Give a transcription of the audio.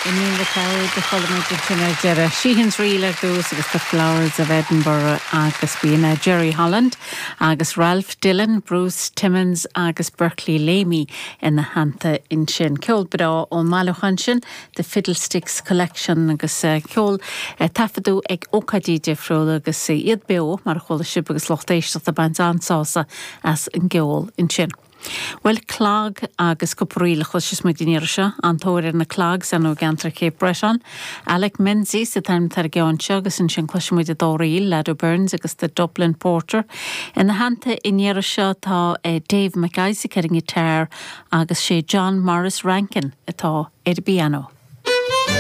Iníon MacLeod a chuala muid ansin ar deireadh. Sheehan's Reel ar dtús agus The Flowers of Edinburgh agus b'in Jerry Holland agus Ralph Dillon, Bruce Timmins agus Berkeley Lamey ina theannta ansin. Ceol breá ón mbailiúchán sin, The Fiddlesticks Collection agus ceol a taifeadadh ag ócáidí difriúla agus iad beo mar a chuala sibh agus lucht éisteachta ag baint an-sásamh as an gceol ansin. Bhuel, clog agus cúpla ríl a chloisfeas muid an iarraidh seo. An-tóir ar na clogs ar ndóigh i gceantar Cape Breton. Alec Menzies an t-ainm atá ar an gceann seo agus ansin cloisfidh muid an dá ríl, Lado Burns agus The Dublin Porter. Ina theannta an iarraidh seo tá Dave MacIsaac ar an ngiotár agus sé John Maurice Rankin atá ar an bpianó.